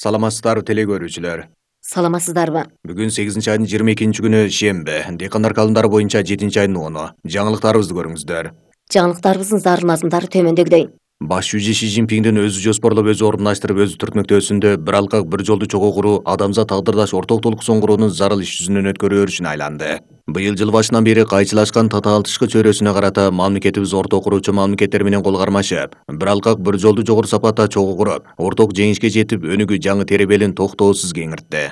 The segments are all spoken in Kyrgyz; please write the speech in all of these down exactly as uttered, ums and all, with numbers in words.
Саламатсыздар теле көрүүчүлөр. Саламатсыздарбы? Бүгүн сегизинчи айдын жыйырма экинчи күнү шемби. Дыйкандар календарı боюнча жетинчи айдын оны. Жаңылыктарыбызды көрүңүздөр. Жаңылыктарыбыздын зарыл мазмундары төмөндөгүдөй. Баш жүзү Ши Цзиньпиндин өзү жоспорлоп өзү ордундаштырып өзү түртмөктөөсүндө бир алкак бир жолду чогуу куруу адамзат тагдырдаш орток толуксон куруунун зарыл иш жүзүнөн өткөрүү өрүшүнө айланды. Быйыл жыл башынан бери кайчылашкан татаалтышкы чөйрөсүнө карата мамлекетибиз орток куруучу мамлекеттер менен кол кармашып, бир алкак бир жолду жогору сапатта чогуу куруп, орток жеңишке жетип, өнүгүү жаңы теребелин токтоосуз кеңиртти.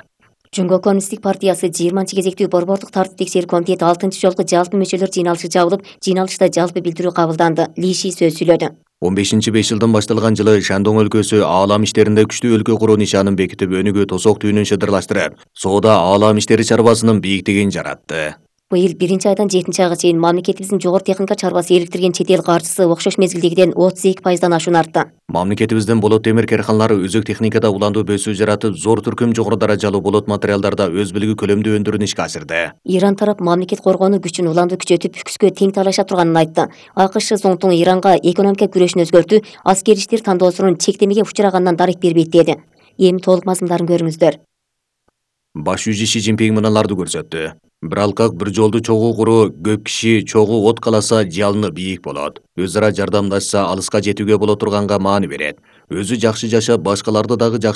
Жөнгө коммунисттик партиясы жыйырманчы кезектүү борбордук тартип текшерүү комитети алтынчы жолку жалпы мүчөлөр жыйналышы жабылып, жыйналышта жалпы билдирүү кабылданды. Ли Ши сөз сүйлөдү. он бешинчи беш жылдын башталган жылы Шандong өлкөсү аалам иштеринде күчтүү өлкө куруу нишанын бекитип, өнүгүү тосок түйүнүн шыдырлаштырып, соода аалам иштери чарбасынын бийиктигин жаратты. Быйыл биринчи айдан жетинчи айга чейин мамлекетибиздин жогору техника чарбасы иликтирген чет эл каржысы окшош мезгилдегиден отуз эки пайыздан ашуун артты. Мамлекетибиздин болот темир карканалары өзөк техникада уландуу бөсүү жаратып, зор түркүм жогору даражалуу болот материалдарда өз билиги көлөмдүү өндүрүүнү ишке ашырды. Иран тарап мамлекет коргонуу күчүн уландуу күчөтүп, күчкө тең талаша турганын айтты. АКШ Зоңтун Иранга экономика күрөшүн өзгөртүү, аскери иштер тандоосунун чектемеге учураганынан дарек бербейт деди. Эми толук мазмундарын көрүңүздөр. Баш жүзү Ши Цзиньпин мыналарды көрсөттү. Бир алкак бир жолду чогуу куруу, көп киши чогуу от каласа жалыны бийик болот. Өз ара жардамдашса алыска жетүүгө боло турганга маани берет. Өзү жакшы жашап, башкаларды дагы жакшы